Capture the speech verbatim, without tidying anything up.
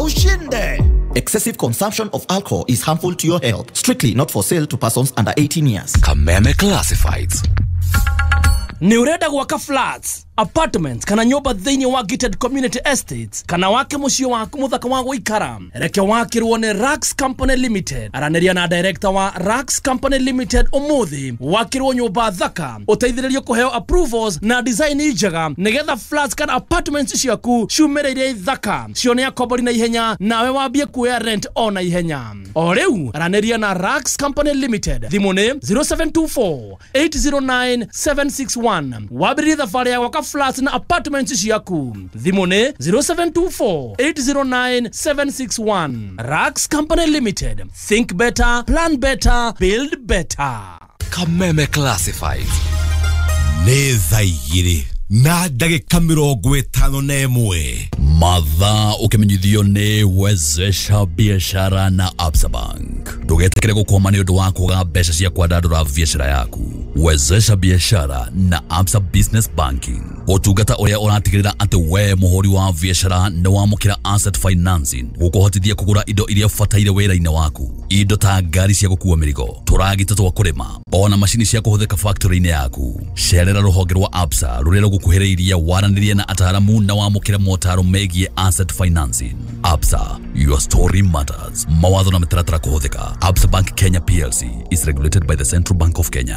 ushinde. Excessive consumption of alcohol is harmful to your health. Strictly not for sale to persons under eighteen years. Kameme Classifieds. Nĩ ũrenda gwaka flats, apartments kana nyũmba thĩinĩ wa gated community estates, kana wake mũciĩ waku mũthaka wa gũikara? Reke wakĩrwo nĩ Rax Company Limited. Aranĩria na director wa Rax Company Limited ũmũthĩ, wakĩrwo nyũmba thaka, ũteithĩrĩrio kũheo approvals na design njega nĩgetha flats kana apartments ciaku ciumĩrĩire thaka, cione akombori na ihenya, nawe wambie kuoya rent o na ihenya. O rĩu aranĩria na Rax Company Limited, thimũ nĩ zero seven two four eight zero nine seven six one. Wambĩrĩrie thabarĩ ya gwaka flats na apartments ciaku. Thimũ nĩ zero seven two four eight zero nine seven six one. Rax Company Limited, think better, plan better, build better. Kameme Classifieds. Nĩ thaa igĩrĩ na ndagĩka mĩrongo ĩtano na ĩmwe. Mathaa ũkĩmenyithio nĩ Wezesha Biashara na Absa Bank. Ndũgetĩkĩre gũkwama nĩ ũndũ wa kwaga mbeca cia kwandandũra biashara yaku. Wezesha Biashara na Absa Business Banking, ũtungata ũrĩa ũratigĩrĩra atĩ we mũhũri wa biashara nĩ wamũkĩra asset financing gũkũhotithia kũgũra indo iria ũbataire wĩra-inĩ waku, indo ta ngari cia gũkua mĩrigo, tũragita twa kũrĩma, ona macini cia kũhũthĩka factory-inĩ yaku. Cerera rũhonge rwa Absa rũrĩa rũgũkuhĩrĩirie, waranĩrie na ataaramu na wamũkĩre motaro megiĩ asset financing. Absa, your story matters. Mawatho na mĩtaratara kũhũthĩka. Absa Bank Kenya P L C is regulated by the Central Bank of Kenya.